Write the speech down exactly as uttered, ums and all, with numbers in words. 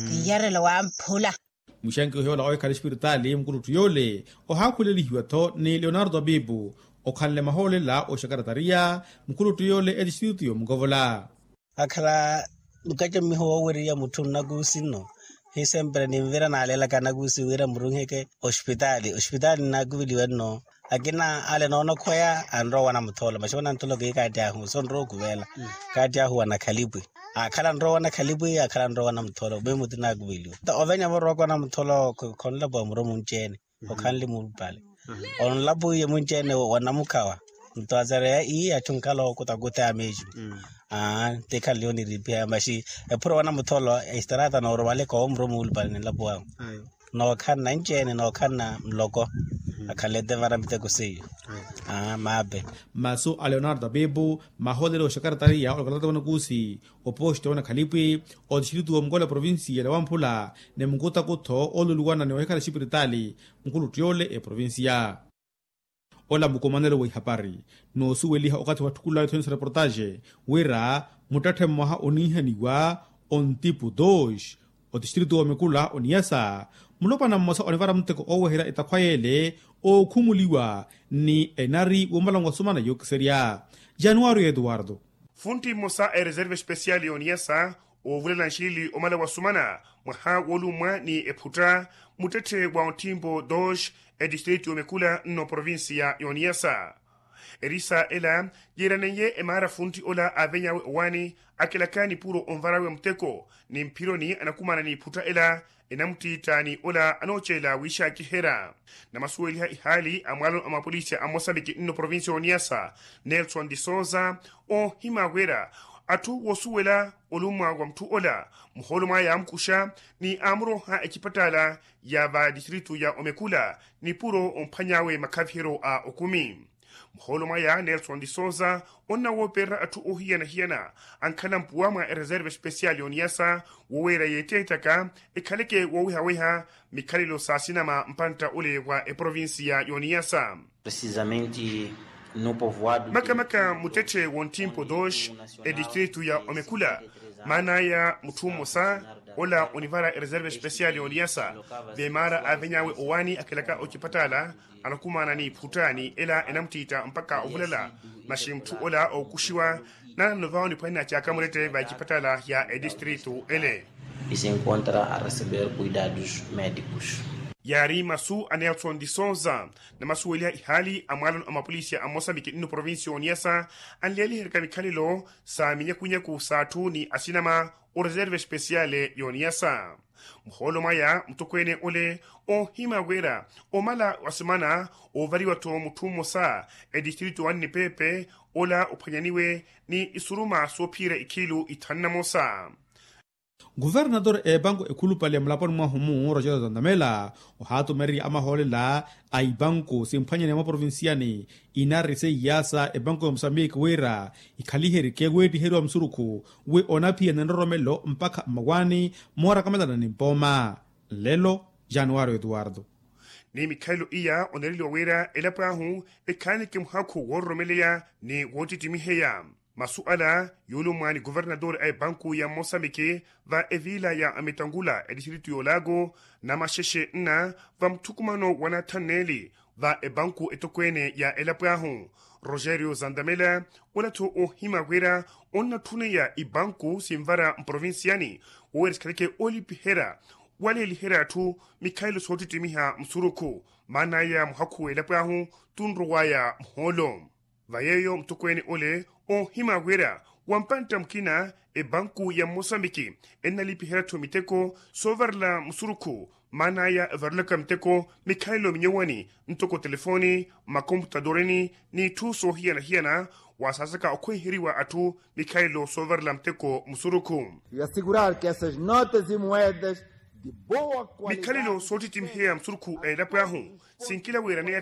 Kiyarelo wamphula. Muxanki ohiyoola owe khali espiritaali mukulutthu yoole ohaakhulelihiwa-tho ni leonardo abibu, okhanle mahoolela oxakaratariya mukulutthu yoole etistritu yomukovola. Akhala nkaca mmiho woowereriya mutthu nnakuusi nno, hi sempre ninvira naalelaka anakuusi wira murunheke ospitaali ospitaali nnaakuveliwa nno. Akina ale noonokhweya anrowa wana mutholo maxi wana mutholo kiikaatti ahu sonrowa okuveela. Kaatti ahu wana khalipwi, akhala anrowa wana khalipwi akhala anrowa wana mutholo mimuti naakuveliwa. Ovenya vorowaka wana mutholo khonlapuwa muro munci-ene, okhanle mulupale onlapuwiye munci-ene wa namukhawa. Nto azareya ii atthu nkhala ookutakutha ya mexico. Aa, ti khanle oniripiha maxi ephuro wana mutholo, estrata nooromaleka owo muro mulupale ninlapuwahu. Nookhanna nci-ene nookhanna nloko akhalete vara miteko seiyo. Aa maape. Masu a leonardo apipu maholelo oxakaratariya olokatata wanakusi, oposto wanakhalipi, otistrito wa mukola provincia ya wamphula ni mukutakutho oluluwana ni ohikhala exipiritaali, mukuluttu yoole eprovincia. Ola mukumanelo wa ihapari noosuweliha okathi wa tthukula ethonisa reportaxe, wira muttetthe mmoha oniihaniwa ontipu dos, otistrito wa omekula oniyasa, mulopwana mmosa onivara mutteko ooweherya etakhwa yeele, ookhumuliwa ni enari womala wasumana yookiserya. Januwario etuwarto. Funtti mmosa a ereserva espesiali y'oniyasa, oovulala nxilili omala wasumana mwaha woolummwa ni ephutta, muttetthe wa onttimpo dos, etistrito y'omekula nno provincia y'oniyasa. Erisa ela yiiraneiye emaara funtti ola aaveny'awe owaani, akilaka nipuro onvarawe mutteko ni mphironi anakumana n'iphutta ela, enamuttiitta ni ola anoocelela wiixakiherya. Namasuweliha ihaali a mwaalano a mapolisi a mosambiki nno provincia y'oniyasa, nelson de sousa, oohima wira atthu woosuwela olummwa wa mutthu ola, muhoolo mwaya aamukuxa ni aamuroha ecipattaala ya va distritu ya omekula, nipuro omphwany'awe makhaviheryo a okumi. Muhoolo mwaya nelson de sousa onnawoopererya atthu oohiyana-hiyana ankhala mpuwa mwa ereserva espesiali y'oniyasa, woweera yeetteettaka ekhaleke woowehaweha mikhalelo s'asinama mpantta ole wa eprovincia y'oniyasa. Makamaka muttetthe w'onttimpo dos, edistritu ya omekula, maan'aya mutthu mmosa ola onivara ereserva espesiali y'oniyasa, v'emaara aaveny'awe owaani akilaka ocipattaala, anakumana n'iphutta ni ela enamuttiitta mpakha ovulala, maxi mutthu ola ookuxiwa naanano vaho niphwanena caaka murette va ecipattaala ya edistritu ele. Yaari masu a nelson de sousa. Namasuweliha ihaali a mwaalano a mapolisi a mosambiki nno provincia y'oniyasa, anleeliheryaka mikhalelo sa minyakunyaku s'atthu ni asinama, oreserva espesiale y'oniyasa. Muhoolo mwaya mutokweene ole, oohima wira omala wasimana oovariwa-tho mutthu mmosa, edistritu wa nnipepe ola ophwanyaniwe ni isuruma soophiyerya ikhiilu ithanu na mosa. Kuvernatore a epanku ekhulupale mulaponi mwahu-mu rogerio tantamela, ohaatumererya amahoolela a ipanku simphwanyane mwa provinsiyani, inari seiyasa epanku ya musambiki wira ikhaliherike weettiheriwa musurukhu wi onaphiya ni nroromelo mpakha mmawaani moorakamelana ni mpooma. Nlelo januwari etuwarto. Ni mikhalelo iya onereliwa wira elapo ahu ekhaanike muhakhu woororomeleya ni woottittimiheya. Masu ala yuulummwa ni kuvernatore a epanku ya mosambiki va eviila ya amitangula edistritu y'olago, namaxexe nna va muthukumano wa nathaneli va epanku etokweene ya elapo ahu, rogerio zantamela, ola-tho oohima wira onnatthuneya ipanku sinvara mprovinsiyani, woowira sikhaleke oolipiherya waleeliherya atthu mikhalelo soottittimiha musurukhu. Maan'aya muhakhu w'elapo ahu tunrow'aya muhoolo. Va yeeyo mutokweene ole oohima wira wa mpantta mukina epanku ya mmosambiki ennalipiherya-tho miteko soovarela musurukhu. Maan'aya evarelaka miteko mikhalelo minyowani ntoko telefoni, makomputadorini n'itthu soohiyana-hiyana, wasaasaka okhweiheriwa atthu mikhalelo soovarela muteko musurukhu. Mikhalelo soottittimiheya musurukhu a elapo ahu sinkila wiiraneya.